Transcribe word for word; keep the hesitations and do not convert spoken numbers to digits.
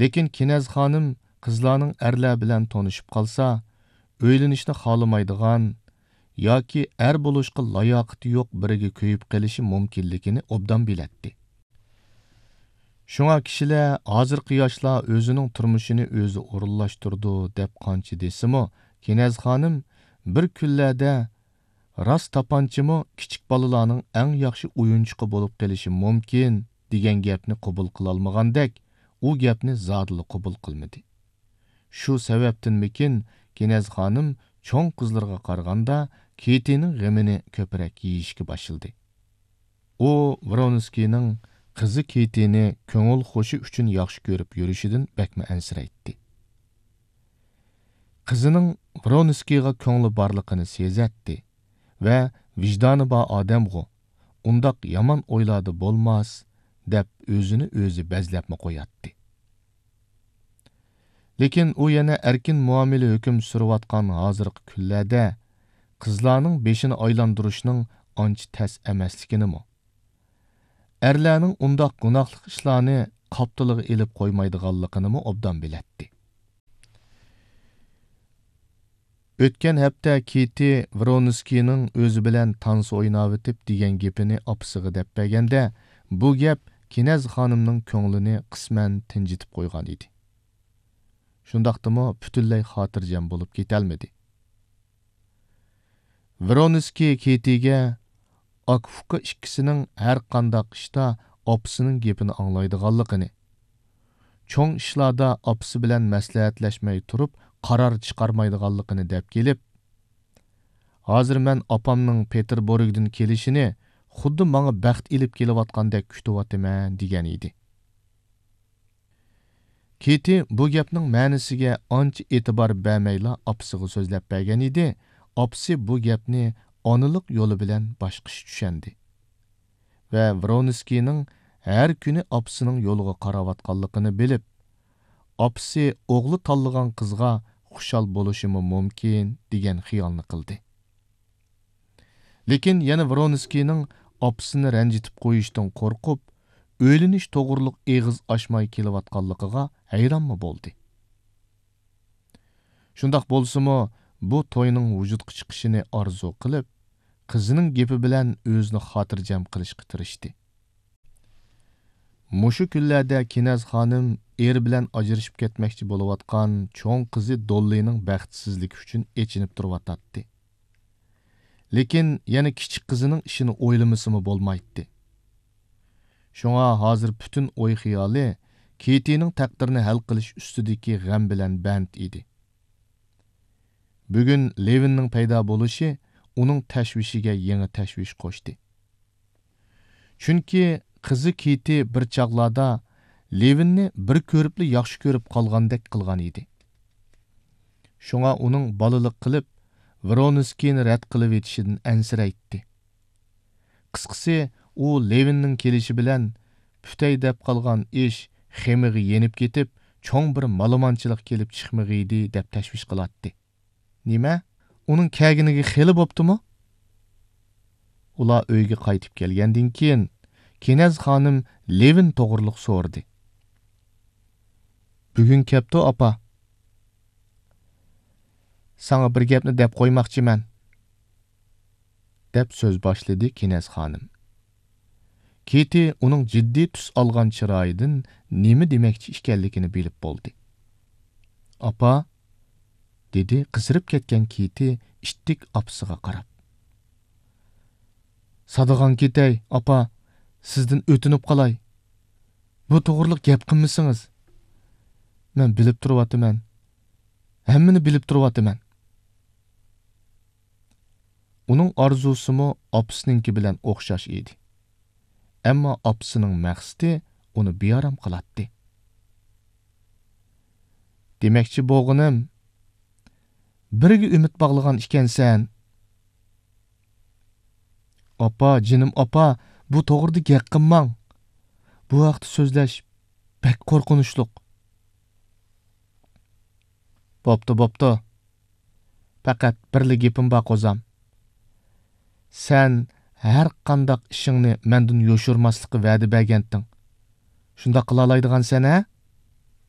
لېكىن كېنەز خانىم قىزلارنىڭ ئەرلەر بىلەن تونۇشۇپ قالسا، ئۆيلىنىشنى خالىمايدىغان ياكى ئەر بولۇشقا لاياقىتى يوق بىرىگە كۆيۈپ قېلىشى مۇمكىنلىكىنى ئوبدان بىلەتتى. شۇڭا كىشىلەر ھازىرقى ياشلار ئۆزىنىڭ تۇرمۇشىنى ئۆزى ئورۇنلاشتۇرىدۇ دەپ قانچە دېسىمۇ، كېنەز خانىم بىر كۈنلەردە راست تاپانچىمۇ كىچىك بالىلارنىڭ ئەڭ ياخشى ئويۇنچۇقى بولۇپ قېلىشى مۇمكىن دېگەن گەپنى قوبۇل قىلالمىغاندەك، ئۇ گەپنى زادىلا قوبۇل قىلمىدى. شۇ سەۋەبتىنمىكىن، كېنەز خانىم چوڭ قىزلىرىغا قارىغاندا كېتىنىڭ غېمىنى كۆپرەك يېيىشكە باشلىدى. ئۇ ۋرونسكىينىڭ قىزى كېتىنى كۆڭۈل خۇشى ئۈچۈن ياخشى كۆرۈپ يۈرۈشىدىن بەكمۇ ئەنسىرەيتتى. قىزىنىڭ ۋرونسكىيغا كۆڭلى بارلىقىنى سېزەتتى ۋە ۋىجدانى بار ئادەمغۇ، ئۇنداق يامان ئويلاردا بولماس، دەپ ئۆزىنى ئۆزى بەزلەپمۇ قوياتتى. لېكىن ئۇ يەنە ئەركىن مۇئامىلە ھۆكۈم سۈرۈۋاتقان ھازىرقى كۈنلەردە قىزلارنىڭ بېشىنى ئايلاندۇرۇشنىڭ ئانچە تەس ئەمەسلىكىنىمۇ، ئەرلەرنىڭ ئۇنداق گۇناھلىق ئىشلارنى قاپتىلىغا ئېلىپ قويمايدىغانلىقىنىمۇ ئوبدان بىلەتتى. ئۆتكەن ھەپتە كېتى ۋرونسكىينىڭ ئۆزى بىلەن تانسا ئويناۋېتىپ دېگەن گېپىنى ئاپىسىغا دەپ بەرگەندە، بۇ گەپ كېنەز خانىمنىڭ كۆڭلىنى قىسمەن تىنجىتىپ قويغان ئىدى. شۇنداقتىمۇ پۈتۈنلەي خاتىرجەم بولۇپ كېتەلمىدى. ۋرونسكىي كېتىگە ئاكا-ئۇكا ئىككىسىنىڭ ھەر قانداق ئىشتا ئاپىسىنىڭ گېپىنى ئاڭلايدىغانلىقىنى، چوڭ ئىشلاردا ئاپىسى بىلەن مەسلىھەتلەشمەي تۇرۇپ قارار چىقارمايدىغانلىقىنى دەپ كېلىپ، ھازىر مەن ئاپامنىڭ پېتېربۇرگدىن كېلىشىنى خۇددى ماڭا بەخت ئېلىپ كېلىۋاتقاندەك كۈتۈۋاتىمەن، دېگەن ئىدى. كېتى بۇ گەپنىڭ مەنىسىگە ئانچە ئېتىبار بەرمەيلا ئاپىسىغا سۆزلەپ بەرگەن ئىدى، ئاپىسى بۇ گەپنى ئانىلىق يولى بىلەن باشقىچە چۈشەندى ۋە ۋرونسكىينىڭ ھەر كۈنى ئاپىسىنىڭ يولىغا قاراۋاتقانلىقىنى بىلىپ، ئاپىسى ئوغلى تاللىغان قىزغا خۇشال بولۇشىمۇ مۇمكىن دېگەن خىيالنى قىلدى. لېكىن يەنە ۋرونسكىينىڭ ئاپىسىنى رەنجىتىپ قويۇشتىن قورقۇپ، ئۆيلىنىش توغرۇلۇق ئېغىز ئاچماي كېلىۋاتقانلىقىغا ھەيرانمۇ بولدى. شۇنداق بولسىمۇ، بۇ توينىڭ ۋۇجۇدقا چىقىشىنى ئارزۇ قىلىپ، قىزىنىڭ گېپى بىلەن ئۆزىنى خاتىرجەم قىلىشقا تىرىشتى. مۇشۇ كۈنلەردە كېنەز خانىم ئېرى بىلەن ئاجرىشىپ كەتمەكچى بولۇۋاتقان چوڭ قىزى دوللىنىڭ بەختسىزلىكى ئۈچۈن ئېچىنىپ تۇرۇۋاتاتتى. لېكىن يەنە كىچىك قىزىنىڭ ئىشىنى ئويلىمىسىمۇ بولمايتتى. شۇڭا ھازىر پۈتۈن ئوي-خىيالى كېتىنىڭ تەقدىرىنى ھەل قىلىش ئۈستىدىكى غەم بىلەن بەند ئىدى. بۈگۈن لېۋىننىڭ پەيدا بولۇشى ئۇنىڭ تەشۋىشىگە يېڭى تەشۋىش قوشتى. چۈنكى قىزى كېتى بىر چاغلاردا لېۋىننى بىر كۆرۈپلا ياخشى كۆرۈپ قالغاندەك قىلغان ئىدى. شۇڭا ئۇنىڭ بالىلىق قىلىپ، ۋرونسكىينى رەت قىلىۋېتىشىدىن ئەنسىرەيتتى. قىسقىسى، ئۇ لېۋىننىڭ كېلىشى بىلەن پۈتەي دەپ قالغان ئىش خېمىغا يېنىپ كېتىپ، چوڭ بىر مالىمانچىلىق كېلىپ چىقمىغىيدى، دەپ تەشۋىش قىلاتتى. نېمە؟ ئۇنىڭ كەلگىنىگە خېلى بوپتۇمۇ؟ ئۇلار ئۆيگە قايتىپ كەلگەندىن كېيىن، كېنەز خانىم لېۋىن توغرۇلۇق سورىدى. بۈگۈن كەپتۇ، ئاپا. ساڭا بىر گەپنى دەپ قويماقچىمەن، دەپ سۆز باشلىدى كېنەز خانىم. كېتى ئۇنىڭ جىددىي تۈس ئالغان چىرايىدىن نېمە دېمەكچى ئىكەنلىكىنى بىلىپ بولدى. ئاپا، دېدى قىزىرىپ كەتكەن كېتى ئىتتىك ئاپىسىغا قاراپ. سادىغان كېتەي، ئاپا، سىزدىن ئۆتۈنۈپ قالاي. بۇ توغرىلىق گەپ قىلمىسىڭىز. مەن بىلىپ تۇرۇۋاتىمەن. ھەممىنى بىلىپ تۇرۇۋاتىمەن. ئۇنىڭ ئارزۇسىمۇ ئاپىسىنىڭكى بىلەن ئوخشاش ئىدى. ئەمما ئاپىسىنىڭ مەقسىتى ئۇنى بىئارام قىلاتتى. دېمەكچى بولغىنىم، بىرىگە ئۈمىد باغلىغان ئىكەنسەن. ئاپا، جېنىم ئاپا، بۇ توغرىدا گەپ قىلماڭ. بۇ ھەقتە سۆزلەش بەك قورقۇنچلۇق. بوپتۇ، بوپتۇ. پەقەت بىرلا گېپىم بار، قوزام. سەن ھەر قانداق ئىشىڭنى مەندىن يوشۇرماسلىققا ۋەدە بەرگەنتىڭ. شۇنداق قىلالايدىغانسەن، ھە؟